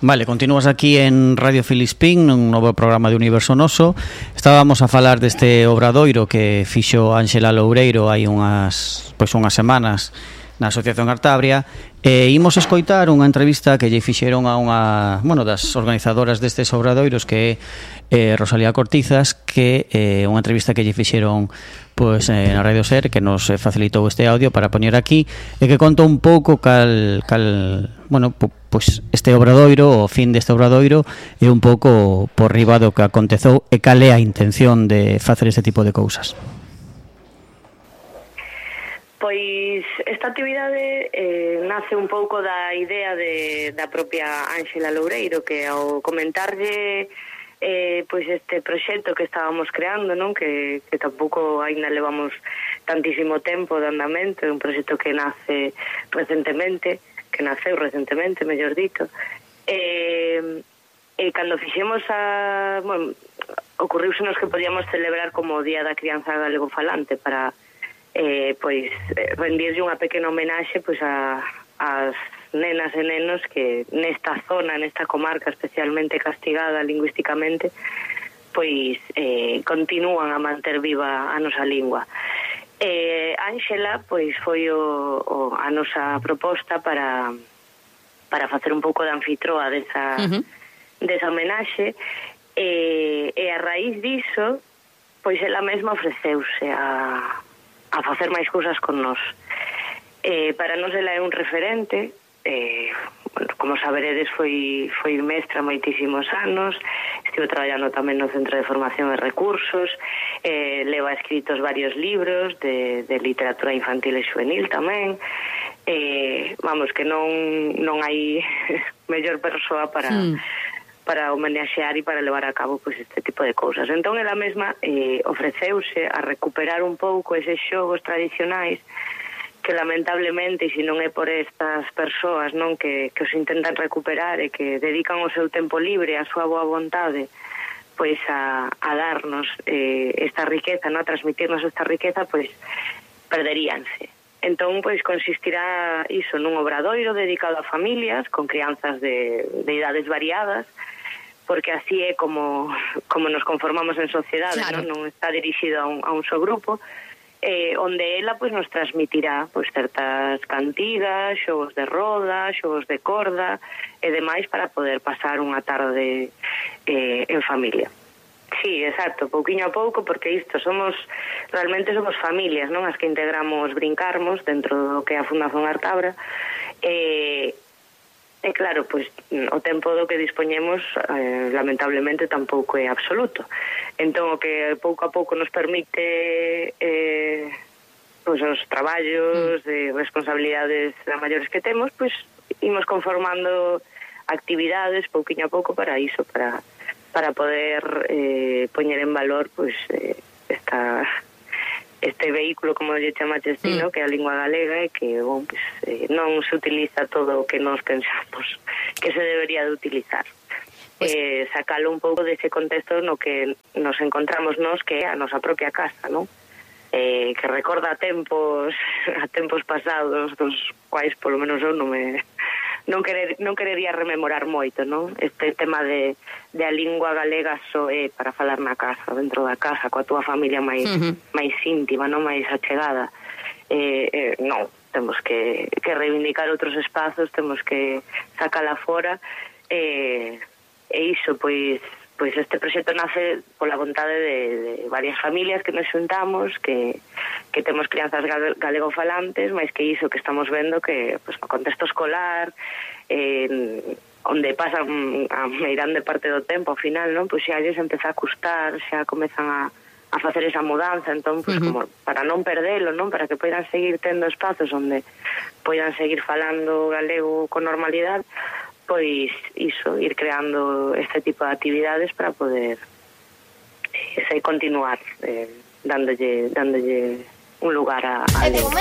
Vale, continúas aquí en Radio Filispín nun novo programa de Universo Noso. Estábamos a falar deste obradoiro que fixo Ánxela Loureiro hai unhas semanas na Asociación Artabria, e imos escoitar unha entrevista que lle fixeron a unha, das organizadoras destes obradoiros, que é Rosalía Cortizas, que é unha entrevista que lle fixeron na Radio Ser, que nos facilitou este audio para poñer aquí, e que conta un pouco este obradoiro, o fin deste obradoiro, e un pouco por riba do que aconteceu e cal é a intención de facer este tipo de cousas. Pois esta actividade nace un pouco da idea da propia Ánxela Loureiro, que ao comentarlle este proxecto que estábamos creando, non, que tampouco aínda levamos tantísimo tempo de andamento, é un proxecto que naceu recentemente, mellor dito, e cando fixemos ocorriusenos que podíamos celebrar como o Día da Crianza Galegofalante para rendirlle unha pequena homenaxe ás nenas e nenos que nesta zona, nesta comarca especialmente castigada lingüísticamente, continúan a manter viva a nosa lingua. Ánxela foi a nosa proposta para facer un pouco de anfitroa desa homenaxe, e a raíz diso ela mesma ofreceuse a facer máis cousas con nós. Para nós ela é un referente, como saberedes foi mestra moitísimos anos, estivo traballando tamén no Centro de Formación e Recursos, leva escritos varios libros de literatura infantil e juvenil tamén, que non hai mellor persoa para homenaxear e para levar a cabo este tipo de cousas. Entón, ela mesma ofreceuse a recuperar un pouco eses xogos tradicionais que lamentablemente, e se non é por estas persoas, non, que os intentan recuperar e que dedican o seu tempo libre, a súa boa vontade, a darnos esta riqueza, non, a transmitirnos esta riqueza, perderíanse. Entón, consistirá iso nun obradoiro dedicado a familias con crianzas de idades variadas, porque así é como nos conformamos en sociedade, claro. Non está dirixido a un só grupo, onde ela nos transmitirá certas cantigas, xogos de roda, xogos de corda e demais para poder pasar unha tarde en familia. Sí, exacto, pouquiño a pouco, porque realmente somos familias, non, as que integramos Brincarmos dentro do que é a Fundación Artabra, e claro, o tempo do que dispoñemos lamentablemente tampouco é absoluto. Entón, o que pouco a pouco nos permite os traballos de responsabilidades maiores que temos, imos conformando actividades pouquiño a pouco para iso, para poder poñer en valor este vehículo, como lle chamaches ti, que é a lingua galega, e que non se utiliza todo o que nos pensamos que se debería de utilizar. Sacalo un pouco dese contexto no que nos encontramos nós, que é a nosa propia casa, non? Que recorda a tempos pasados, dos quais polo menos eu non querería rememorar moito, non? Este tema de a lingua galega só é para falar na casa, dentro da casa, coa túa familia máis íntima, non, máis achegada. Non, temos que reivindicar outros espazos, temos que sacala fora, e iso, este proxecto nace pola vontade de varias familias que nos xuntamos, que temos crianzas galegofalantes, máis que iso que estamos vendo que no contexto escolar, onde pasan a meirande parte do tempo, ao final, non, xa lles empeza a custar, xa comezan a facer esa mudanza, entón, como para non perdelo, non, para que poidan seguir tendo espazos onde poidan seguir falando galego con normalidade, iso, ir creando este tipo de actividades para poder continuar dándolle un lugar a lengua.